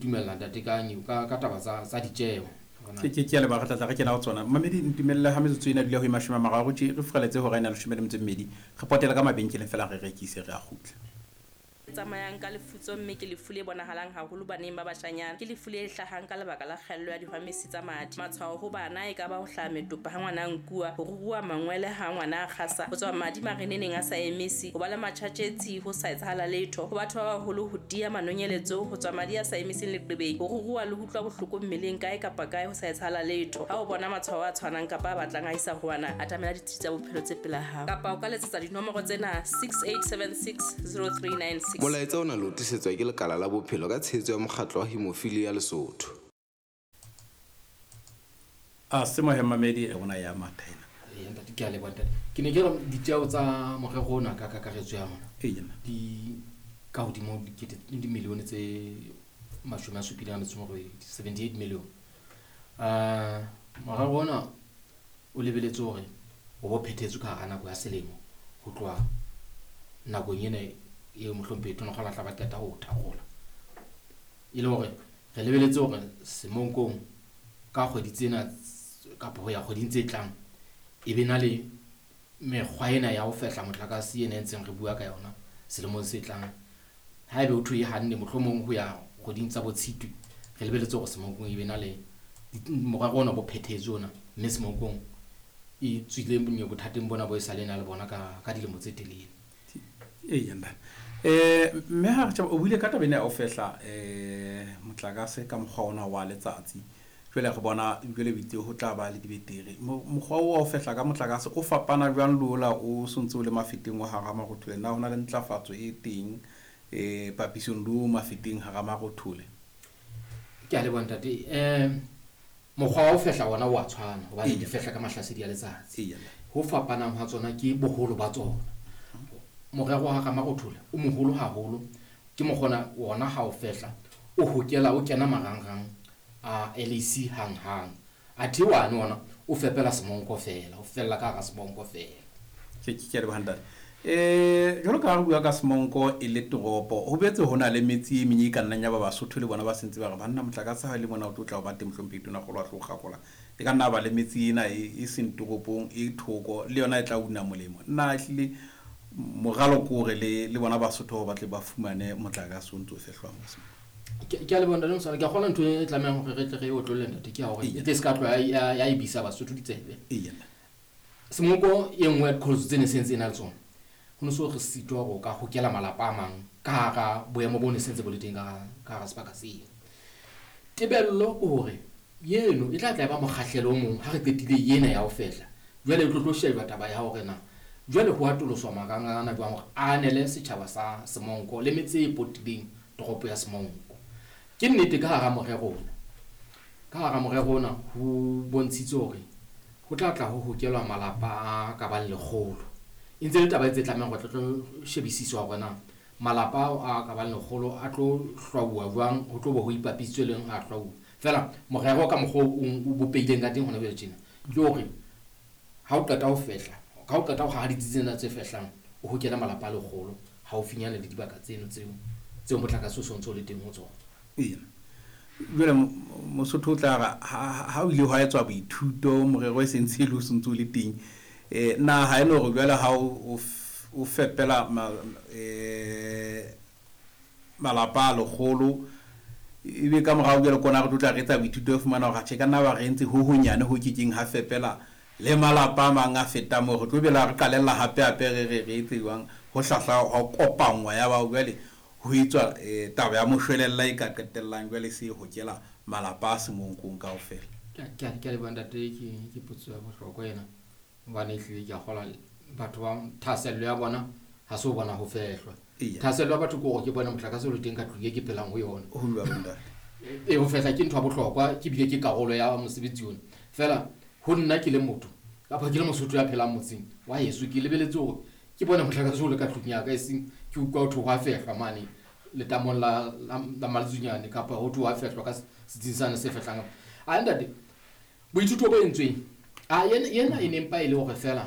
dumella ntate ka ka ka taba tsa ditjeho. Ke a leboha, re tla tla re kena ho tsona. Mamedi, ntumelle ha metsotso ena dula ho e 30 tje re furaletse hora ena 12, re potele ka mabenkeleng fela re rekise, re a kgutla. Tsamayang ka lefutso mme ke lefu le bonahalang haholo baneng ba bashanyana. Ke lefu le hlahang ka lebaka la kgaello ya dihwamesi tsa madi. Matshwao ho bana e ka ba ho hlaha metopa ha ngwana a nkuwa, ho ruruha mangwele ha ngwana a kgasa, ho tswa madi mareneneng a sa emise, ho ba le matjhatjhetsi ho sa etsahala letho. Ho batho ba baholo, ho tiya manonyeletso, ho tswa madi a sa emiseng leqebeng, ho ruruha le ho utlwa bohloko mmeleng kae kapa kae ho sa etsahala letho. Ha o bona matshwao a tshwanang kapa a batlang a isa ho wena, atamela ditsi tsa bophelo tse pela hao. Kapa o ka letsetsa dinomoro tsena 6876 0396. Molaetsa ona le o tlisetswa ke Lekala la Bophelo ka tshehetso ya Mokgatlo wa Hemophilia Lesotho. A se mohe mamedi rona ya matha ena. Ee, ntate, ke a leboha ntate. Ke ne ke re ditjeho tsa morero ona ka kakaretso ya rona di ka hodimo dikete dimilione tse 78, 78 million. Morero ona o lebeletse hore o bo phethetswe ka hara nako ya selemo ho tloha nakong ena eo mohlomphehi Tonakgolo a tla ba qeta ho thakgola. E le hore re lebeletse hore Semonkong ka kgwedi tsena kapa ho ya kgweding tse tlang e be na le mekgwa ena ya ho fehla motlakase ena e ntseng re bua ka yona selemong se tlang. Haebe ho thwe e hanne mohlomong ho ya kgweding tsa bo Tshitwe, re lebeletse hore Semonkong e be na le morero ona bo phethetswe ona, mme Semonkong e tswile bothateng bona bo e sa le na le bona ka dilemo tse telele. Eya ntate. Mme ha re tjhaba, o buile ka taba ena ya ho fehla motlakase ka mokgwa ona wa letsatsi. Jwale re bona jwale o itse ho tla ba le dibeteri. Mokgwa oo wa ho fehla ka motlakase o fapana jwang le ola o sontse o le mafeteng wa hara marothole? Na ho na le ntlafatso e teng papisong le o mafeteng hara marothole? Ke a leboha ntate. Mokgwa wa ho fehla ona o a tshwana hobane di fehla ka mahlasedi a letsatsi. Ho fapanang hwa tsona ke boholo ba tsona. Morero wa hara marothole o moholo haholo, ke mokgona ona ha o fehla o hokela o kena marangrang a LAC hang-hang. Athe wane ona o fepela Semonko fela, o fella ka hara Semonko fela. Ke a leboha ntate. Jwalo ka ha re bua ka Semonko e le toropo, ho boetse ho na le metse e meng e ka nnang ya ba Basotho le bona ba sentse ba re banna motlakase ha e le mona o tlo tla o ba teng mohlomphehi Tonakgolo a tlo kgakola. E ka nna ba le metse ena e seng toropong e thoko le yona e tla una molemo. Nna ehlile moralo ke hore le bona Basotho ba tle ba fumane motlakase o ntso o fehlwang ka Semonko. Ke a leboha ntate Mosala. Ke a kgolwa ntho e tlamehang hore re tle re e otlolle ntate ke ya hore e tle se ka tloha ya e bisa Basotho ditsebe. Semonko e nngwe ya diqholotso tse ne se ntse e na le tsona, ho ne so re sitwa hore o ka hokela malapa a mang ka hara boemo bo ne se ntse bo le teng ka hara sebaka seo. Tebello ke hore eno e tla tla e ba mokgahlelo o mong ha re qetile ena ya ho fehla. Jwale e tlo shejwa taba ya hore na jwale ho atoloswa marangrang ana jwang hore a anele setjhaba sa Semonko le metse e potileng toropo ya Semonko. Ke nnete ka hara morero ona. Ka hara morero ona ho bontshitswe hore ho tla tla ho hokelwa malapa a ka bang 100. E ntse le taba e tse tlamehang hore tlo shebisiswa hore na malapa ao a ka bang 100 a tlo hlwauwa jwang, ho tlo bo ho ipapisitswe leng a hlwauwa. Feela morero ka mokgwa o bopehileng ka teng hona jwale tjena ke hore ha o qeta ho fehla, ha o qeta ho haha ditsi tsena tse fehlang, o hokele malapa a 100 haufinyane le dibaka tseno tseo motlakase o sontso o le teng ho tsona. Eya. Jwale Mosotho o tla re ha o ile hwa etswa boithuto morero e sentse e le o sontso o le teng, na ha e le hore jwale ha o fepela malapa a 100 ebe ka morao jwale kona re tlo tla re etsa boithuto re fumana hore atjhe ka nna ba re entse ho honyane ho kekeng ha fepela le malapa a mang a fetang moo, re tlo bela re qalella hape hape re re re etse jwang ho hlahla ho kopanngwa ya bao jwale ho etswa taba ya moshwelella e ka qetellang jwale se hokela malapa a Semonkong kaofela. Ke a leboha ntate, ke potso ya bohlokwa ena hobane ehlile ke a kgolwa batho ba thahasello ya bona ha se ho bona ho fehlwa. Thahasello ya batho ke hore ke bone motlakase o le teng ka tlung e ke phelang ho yona. Ho jwalo ntate. Ho fehla ke ntho ya bohlokwa, ke bile ke karolo ya mosebetsi ona. Feela ho nna ke le motho kapa ke le Mosotho ya phelang motseng wa heso, ke lebeletse hore ke bone motlakase o le ka tlung ya ka, eseng ke utlwa ho thwe ho a fehlwa mane letamong la Maletsunyane kapa ho thwe ho a fehlwa ka setsing sane se fehlang. A ntate, boithuto bo entsweng, a yena e ne mpa e le hore feela